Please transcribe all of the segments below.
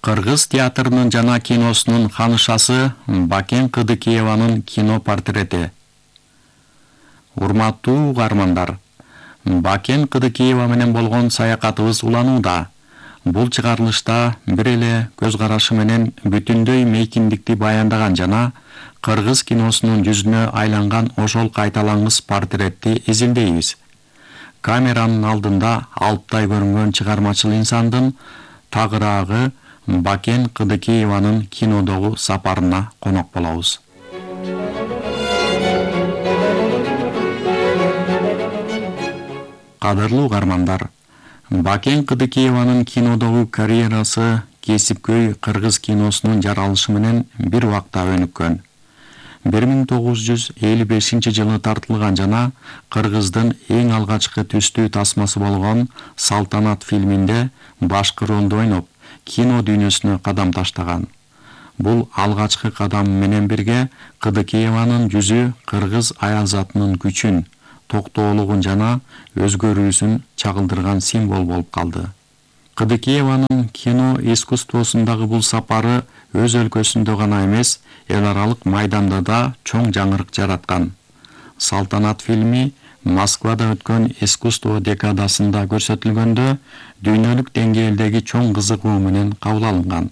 Кыргыз театрынын жана киносунун ханышасы Бакен Кыдыкееванын кино портрети. Урматтуу угармандар, Бакен Кыдыкеева менен болгон саякатыбыз уланууда. Бул чыгарылышта бир эле көз карашы менен бүтүндөй мейкиндикти баяндаган жана кыргыз киносунун жүзүнө айланган ошол кайталангыс портретти изилдейбиз. Камеранын алдында алптай көрүнгөн чыгармачыл инсандын тагыраагы Бакен Кыдыкееванын кинодогу сапарына конок болобуз. Кадырлуу угармандар, Бакен Кыдыкееванын кинодогу карьерасы кесипкөй кыргыз киносунун жаралышы менен бир убакта өнүккөн. 1955-жылы тартылган жана кыргыздын эң алгачкы түстүү тасмасы болгон Салтанат фильминде башкы ролду ойноп, кино дүйнөсүнө кадам таштаган. Бул алгачкы кадам менен бирге Кыдыкееванын жүзү кыргыз аял затынын күчүн, токтоолугун жана өзгөрүүсүн чагылдырган символ болуп калды. Кыдыкееванын кино искусствосундагы бул сапары өз өлкөсүндө гана эмес, эл аралык майданда да чоң жаңырык жараткан. Салтанат фильми Москвада өткөн искусство декадасында көрсөтүлгөндө дүйнөлүк деңгээлдеги чоң кызыгуу менен кабыл алынган.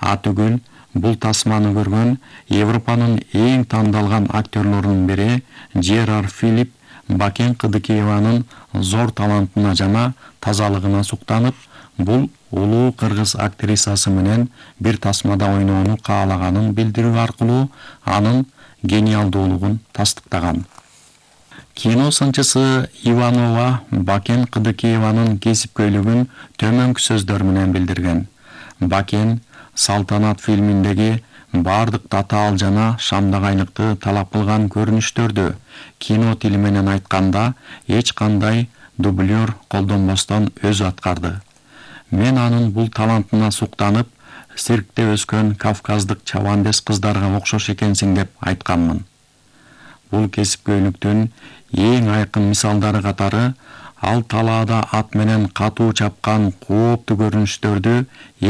Атүгүл бул тасманы көргөн Европанын эң тандалган актерлорунун бири Жерар Филипп Бакен Кыдыкееванын зор талантына жана тазалыгына суктанып, бул улуу кыргыз актрисасы менен бир тасмада ойноону каалаганын билдирүү аркылуу анын гениалдуулугун тастыктаган. Кино сынчысы Иванова Бакен Кыдыкееванын кесипкөйлүгүн төмөнкү сөздөр менен билдирген. Бакен Салтанат фильминдеги бардык татаал жана шамдагайлыкты талап кылган көрүнүштөрдү кино тили менен айтканда эч кандай дублер колдонбостон өзү аткарды. Мен анын бул талантына суктанып, циркте өскөн кавказдык чабандес кыздарга окшош экенсиң деп айтканмын. Бул кесипкөйлүктүн эң айкын мисалдары катары ал талаада ат менен катуу чапкан кооптуу көрүнүштөрдү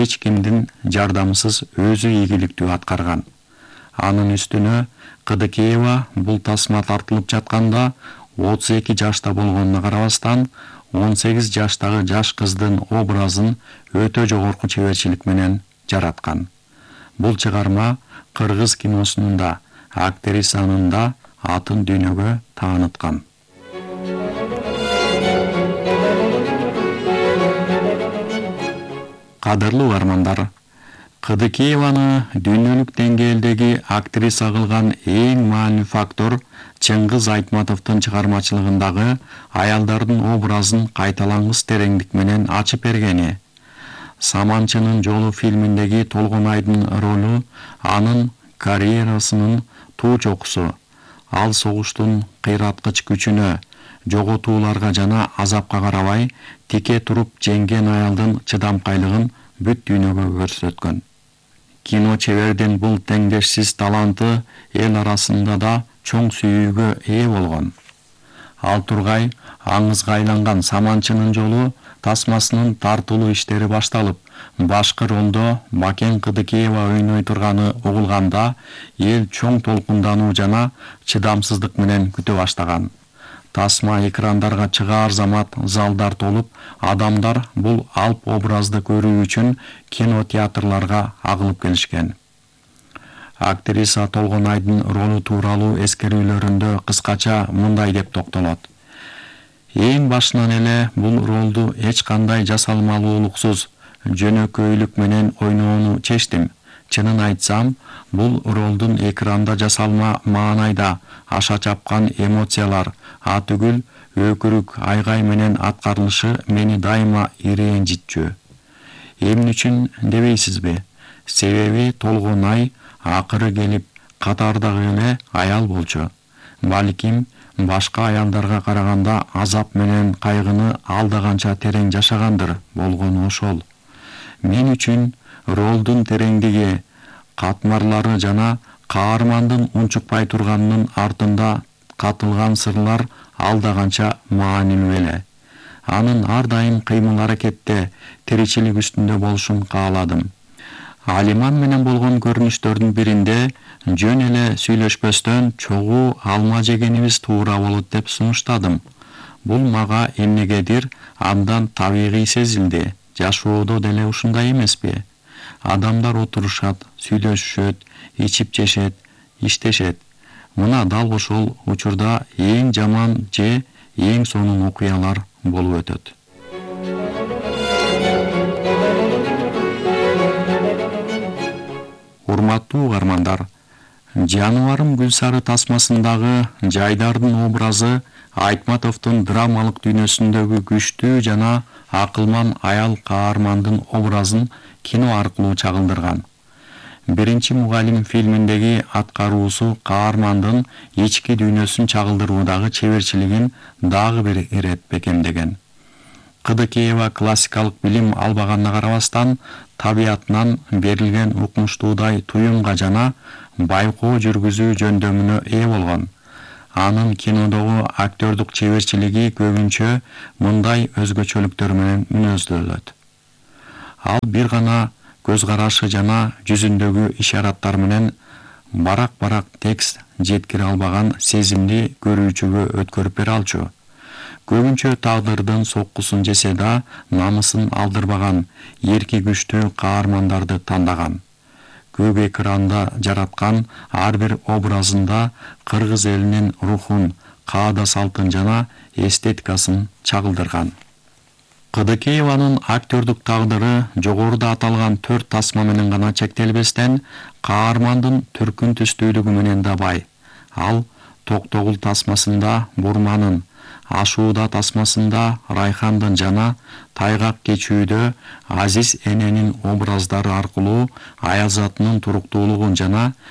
эч кимдин жардамысыз өзү ийгиликтүү аткарган. Анын үстүнө Кыдыкеева бул тасма тартылып жатканда 32 жашта болгонуна карабастан 18 жаштагы жаш кыздын образын өтө жогорку чеберчилик менен жараткан. Бул чыгарма кыргыз киносунун да, актрисанын да атын дүйнөгө тааныткан. Кадырлуу угармандар, Кыдыкееваны дүйнөлүк деңгээлдеги актриса кылган эң маанилүү фактор Чыңгыз Айтматовдун чыгармачылыгындагы аялдардын образын кайталангыс тереңдик менен ачып бергени. Саманчынын жолу фильминдеги Толгонайдын ролу анын карьерасынын туу чокусу. Ал согуштун кыйраткыч күчүнө, жоготууларга жана азапка карабай, тике туруп жеңген аялдын чыдамкайлыгын бүт дүйнөгө көрсөткөн. Кино чебердин бул теңдешсиз таланты эл арасында да чоң сүйүүгө ээ болгон. Ал тургай аңызга айланган Саманчынын жолу тасмасынын тартылуу иштери башталып, башкы ролдо Бакен Кыдыкеева ойной турганы угулганда эл чоң толкундануу жана чыдамсыздык менен күтө баштаган. Тасма экрандарга чыгаар замат залдар толуп, адамдар бул алп образды көрүү үчүн кинотеатрларга агылып келишкен. Актриса Толгонайдын ролу тууралуу эскерүүлөрүндө кыскача мындай деп токтолот. Эң башынан эле бул ролду эч кандай жасалмалуулуксуз, жөнөкөйлүк менен ойноону чечтим. Чынын айтсам, бул ролдун экранда жасалма маанайда аша чапкан эмоциялар, атүгүл өкүрүк айгай менен аткарылышы мени дайыма ирэнжитчү. Эмне үчүн дебейсизби? Себеби Толгонай акыры келип катардагы эле аял болчу. Балким башка аялдарга караганда азап менен кайгыны алда канча терең жашагандыр болгону ошол. Мен үчүн ролдун тереңдиги, катмарлары жана каармандын унчукпай турганынын артында катылган сырлар алда канча маанилүү эле. Анын ар дайым кыймыл аракетте, тиричилик үстүндө болушун кааладым. Алиман менен болгон көрүнүштөрдүн биринде жөн эле сүйлөшпөстөн чогуу алма жегенибиз туура болот деп сунуштадым. Бул мага эмнегедир андан табигый сезилди. Жашоодо деле ушундай эмеспи? Адамдар отурушат, сүйлөшүшөт, ичип жешет, иштешет. Мына дал ошол учурда эң жаман же эң сонун окуялар болуп өтөт. Урматтуу угармандар, жаныбарым Гүлсары тасмасындагы Жайдардын образы Айтматовдун драмалык дүйнөсүндөгү күчтүү жана акылман аял каармандын образын кино аркылуу чагылдырган. Биринчи мугалим фильминдеги аткаруусу каармандын ички дүйнөсүн чагылдыруудагы чеберчилигин дагы бир ирет бекемдеген. Кыдыкеева классикалык билим албаганына карабастан, табиятынан берилген укмуштуудай туюмга жана байкоо жүргүзүү жөндөмүнө ээ болгон. Анын кинодогу актёрдук чеберчилиги көбүнчө мындай өзгөчөлүктөр менен мүнөздөлөт. Ал бир гана көз карашы жана жүзүндөгү ишараттар менен барак текст жеткире албаган сезимди көрүүчүгө өткөрүп бере алчу. Көбүнчө тагдырдын соккусун жесе да, намысын алдырбаган, эрки күчтүү каармандарды тандаган. Көк экранда жараткан ар бир образында кыргыз элинин рухун, каада салтын жана эстетикасын чагылдырган. Кыдыкееванын актёрдук тагдыры жогоруда аталган 4 тасма менен гана чектелбестен, каармандын түркүн түстүүлүгү менен да бай. Ал Токтогул тасмасында Бурманын, Ашууда тасмасында Райхандын жана Тайгак кечүүдө Азиз эненин образдары аркылуу Аязатынын туруктуулугун жана